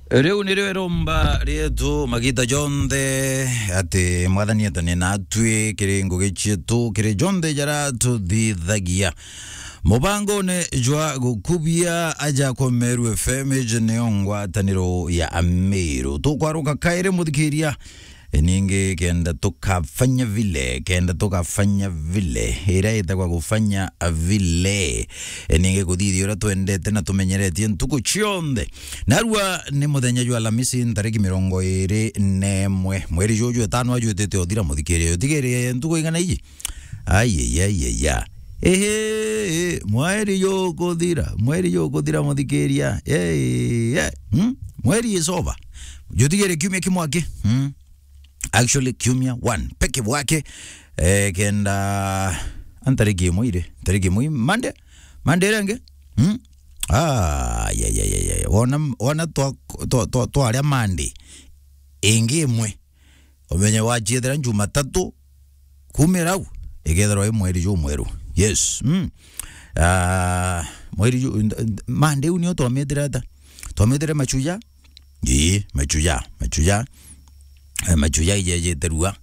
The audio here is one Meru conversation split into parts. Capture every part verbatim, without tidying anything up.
Riu nirio iromba rietu magita jonthe, ati Mwathani etane natwi kiri ngugi cietu, kiri jonthe jara tuthithagia. Mubangone jwa gukubia aja kwa Meru F M, iji niyo ngwataniro ya Amiru. Tukwaruka kairi, muthikiria. E, ningi kenda tukafanya vile, kenda tukafanya vile, iria itagwa kufanya vile. E, ningi kuthithia uria twendete na tumenyeretie ntuku cionthe. Narua ni muthenya jwa Alamisi, ntariki mirongo iri na imwe, mweri juju etano ajwitite uthira, muthikiria. Utigirie ntuku igana iji? Ai, ai, ai, ai, ai. Ehe, mweri jukuthira, mweri jukuthira, muthikiria. Ei, eh, hmm? Mweri is over. Jutigire kiumia kimwe aki. Hmm? Actually, kiumia one peke bwake. Eh, kenda, a, ntariki imwe iri, ntariki imwe, Monday? Monday iria ingi? Hmm? Ah, ya, ya, ya, ya, ya. Wona, wona twa, twa, twa, twaria Monday ingi imwe. Umenye wachiethera Jumatatu, kumira u, ikethirwa i mweri jumweru. Yes. Mm. Ah, mweri ju-, nd-, nd-, Monday u nio twamitire ata? Twamitire machuja? Ii, machuja, machuja. Eh, machuja ijejete rua.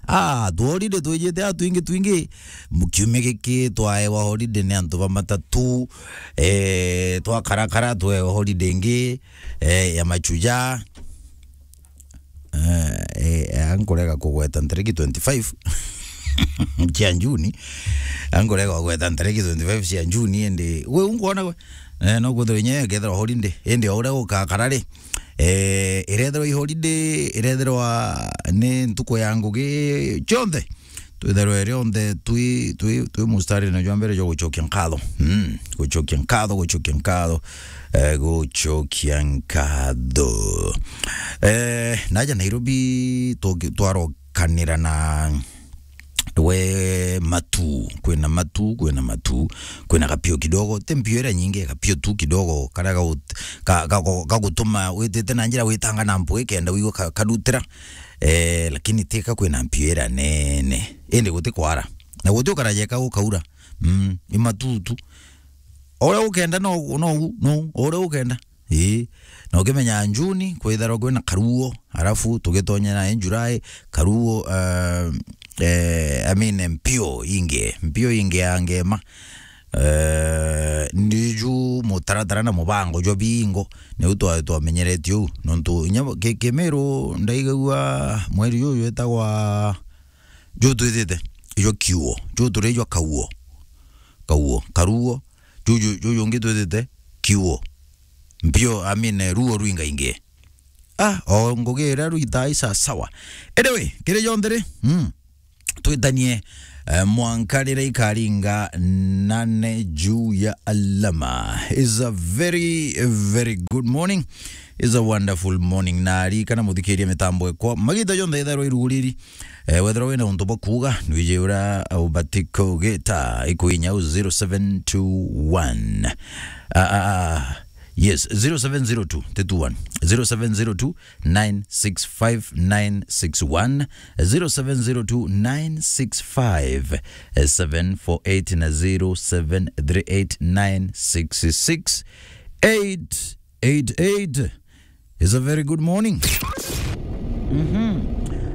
Ah, tu holiday twijite a twingi twingi. Mu-, kiumia giki twaewa holiday ni antu ba matatu. Eh, twakarakara twewa holiday ingi, eh, ya machuja. Eh, eh, ankurega kugweta ntariki twenty-five cia Juni. Ankurega kugweta ntariki twenty-five cia Juni, indi we unkwona we? Eh, no kwithirwa inya ikethirwa holiday, indi o uria gukakara ri, eh, irethirwa i holiday, irethirwa ni ntuku ya ngugi cionthe. Twitherwe rionthe twi, twi, twi mustarine jwa mbere jwa gucokia nkatho. Mm, gucokia nkatho, gucokia nkatho, eh, gucokia nkatho. Eh, naja Nairobi, tuki-, twarokanira na we matu, kwina matu, kwina matu, kwina gapio kidogo, ti mpio iria nyingi, gapio tu kidogo, karia gagut-, ka-, ka-, ka-, gagutuma witite na njira witanga na mpwi kenda wigua ka-, karutira. Eh, lakini tika kwina mpio iria nene. Indi guti kwara. Na guti ukaraja eka gukaura. Mm, i matutu. O uria ukenda no, no, no, o uria ukenda. Ii. Na ukimenya Juni, kwitharwa kwina karuo, alafu tugitonya na July, karuo, eh, eh, I mean, mpio ingi, mpio ingi ya ngema. Eh, ndiju mutaratara na mubango jwa bingo, niu twa-, twamenyeretie uu. Nontu inya ki-, Kimiru ndaigagua mweri juju witagwa, ju twithite, ijo kiuo, ju turi jwa kauo. Kauo, karuo, juju, juju ungi twithite, kiuo. Mpio, I mean, eh, ruo rwingaingi. Ah, o ngugi iria rwitaga i sawa sawa. Anyway, kiri jonthe ri, mm, twitanie, eh, mwanka riria ikaringa nane juu ya alama. Is a very, very good morning. Is a wonderful morning. Na ririkana muthikiria mitambo ekwa. Magita jonthe itharwa iruguriri. Eh, wethirwa wina untu bwa kuuga, nwiji uria ubati kugita, ikuinya u zero seven two one. Ah, ah, ah. Yes, zero seven zero two, ti two one. Zero seven zero two, nine six five, nine six one, zero seven zero two, nine six five, seven four eight na zero seven three eight, nine six six, eight eight eight. Is a very good morning. Mhm.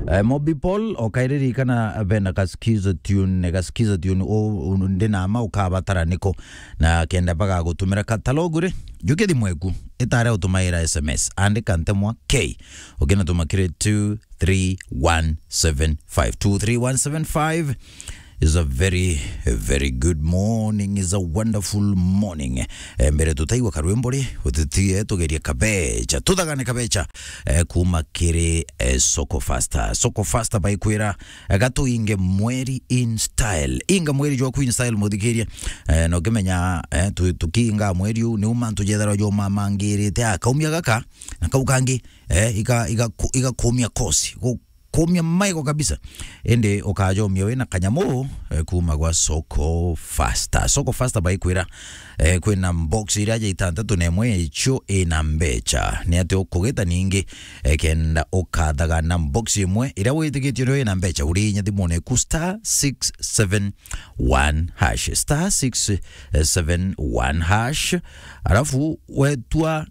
Eh, Mobi Paul, okairirikana bena gaskiza tune, gaskiza tune, o, o, ndina ma ukabatara niko, na kenda bagagutumira katalogu ri, juke thimu eku, itare utumaira S M S, andika ntemwa K, ukinatuma kiri two three one seven five, two three one seven five. Is a very, a very good morning, is a wonderful morning. Eh, mbere tutaigua karwimbo ri, utitie tugerie kabecha, tuthagane kabecha, eh, kuma kiri, eh, Soko Faster. Soko Faster baikwira, eh, gatuinge mweri in style. Inga mweri jwaku in style, muthikirie. Eh, na ukimenya, eh, tu-, tukiinga mweri u, ni uma tujethera jo mamangirite, ah, kaumia gaka, na kau kangi, eh, iga, iga ku-, igakumia kosi, gu-, kumia maigo kabisa. Indi ukajomia wina kanyamu, eh, kuma gwa Soko Faster. Soko Faster baikwira, eh, kwina box iria ja itantatu na imwe icio ina mbecha. Ni ati ukugita ningi, eh, kenda ukathaga na box imwe iria witikitie nio ina mbecha, uri inya thimune ku star six seven one hash, star six seven one hash, alafu wetua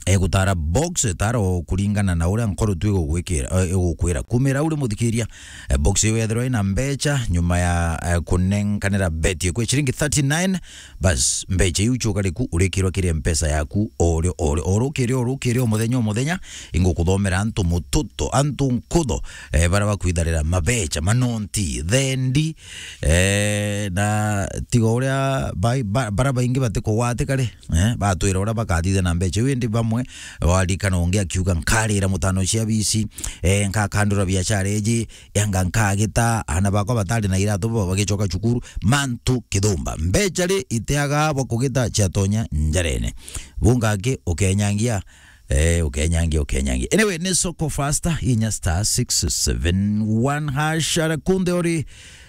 egutara box, tara o kuringana na uria nkoro tu igugwikira, eh, igukwira. Kumira uri muthikiria, eh, box iyo yethirwa ina mbecha, nyuma ya, eh, kunenkanira beti kwi ciringi thirty-nine, bas, mbecha iu chuka riku urikirwa kiri mpesa yaku, o rio, o rio, o rukiri, o rukiri, o muthenya, o muthenya, ingukuthomera antu mututo, antu nkutho, eh, bara bakwitharira mabecha, manonti, thendi, eh, na tiga uria bai-, ba-, bara baingi batikugwatika ri, eh, batwira uria bakathithia na mbecha iu, indi bamwe warikana ungi akiuga, "Nkarira mutano cia bisi, eh, nkakandura biashara iji, yanga nkagita, ana bakwa batari na iratu bo bagicoka cukuru, mantu kithumba." Mbecha ri itiaga bwa kugita ciatonya njarene. Bunga aki ukenyangia, eh, ukenyangia, ukenyangia. Anyway, ni Soko Faster, inya star six seven one hash, ara kunde ori,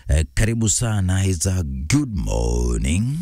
eh, karibu sana, it's a good morning.